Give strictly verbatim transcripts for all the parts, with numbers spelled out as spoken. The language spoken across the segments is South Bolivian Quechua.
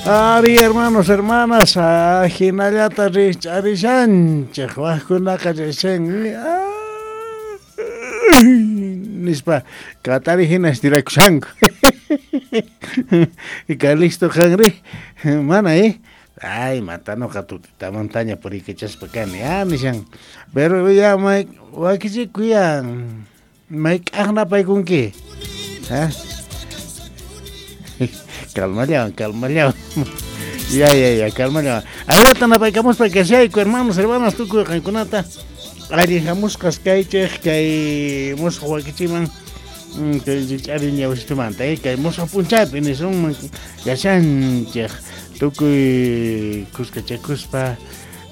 Ari, hermanos, hermanas, ajinallata rijch'arishanchej, wajkunaqa rishan nispa katari hina estirakushanku. Calixto qanri, mana eh. Ay, matanoqa tutitamantaña puriykachaspa kani, ah, nishan. Pero ya may wakichikuyan, mayk'aj napaykunki. ¿Ah? Calmallawan, calmallawan. Ya, ya, ya, calmallawan. Ayrata napaykamuspa kashayku, hermanos, hermanas, tukuy qankunata. Allin hamusqas kaychej kay musuq wakichiman kay rich'ari ñawsitumanta, eh, kay musuq p'unchaypi nisunman kashanchej tukuy kuskachakuspa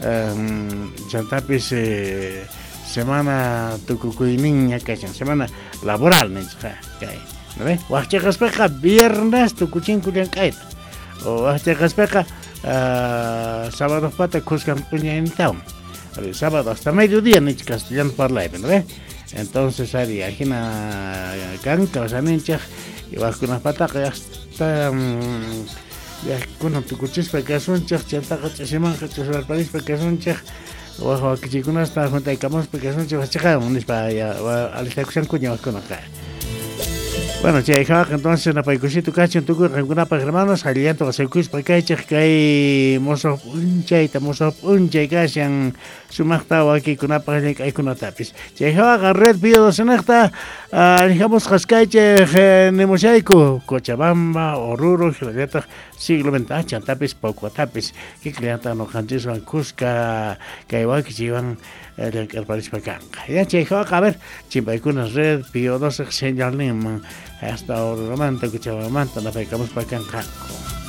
um, chantapis eh, semana tukukuyninña kashan, semana laboral ninchej kay, ¿no ve? Wajchaqaspaqa viernes tukuchinku llank'ayta o wajchaqaspaqa uh, sábado pata kuskan p'unchaynintawan. Sábado hasta mediodía ninchej castellano parlaypi, ¿no ve? Entonces ari ajina kan kawsaninchej y wajkunapataqa hasta um, kunan tukuchispa kasunchej chantaqa ch'isimanqa ch'iswarparispa kasunchej waj wakichikunasta juntaykamuspa kasunchej wachaqawan nispa ya alistakushankuña wajkunaqa. Bueno, chay hawaqa entonces napaykusito kachun tukuy qankunapaq hermanos, allillanto qasaykuspa kaychej kay musuq p'unchayta musuq p'unchay kashan sumaqta wakikunapaq llank'aykunatapis. Chay hawaqa Red Pío doce allijamusqas kaychej nimushayku Cochabamba, Oruro, hinallataq siglo veinte chantapis Pocuatapis kikillanta noqanchiswan kuska kay wakichiwan llank'arparispa kanqa. Ya chay hawaqa a ver chimpaykuna Red Pío doce señalninman hasta Oruromanta, Cochabambamanta napaykamuspa kanqanku.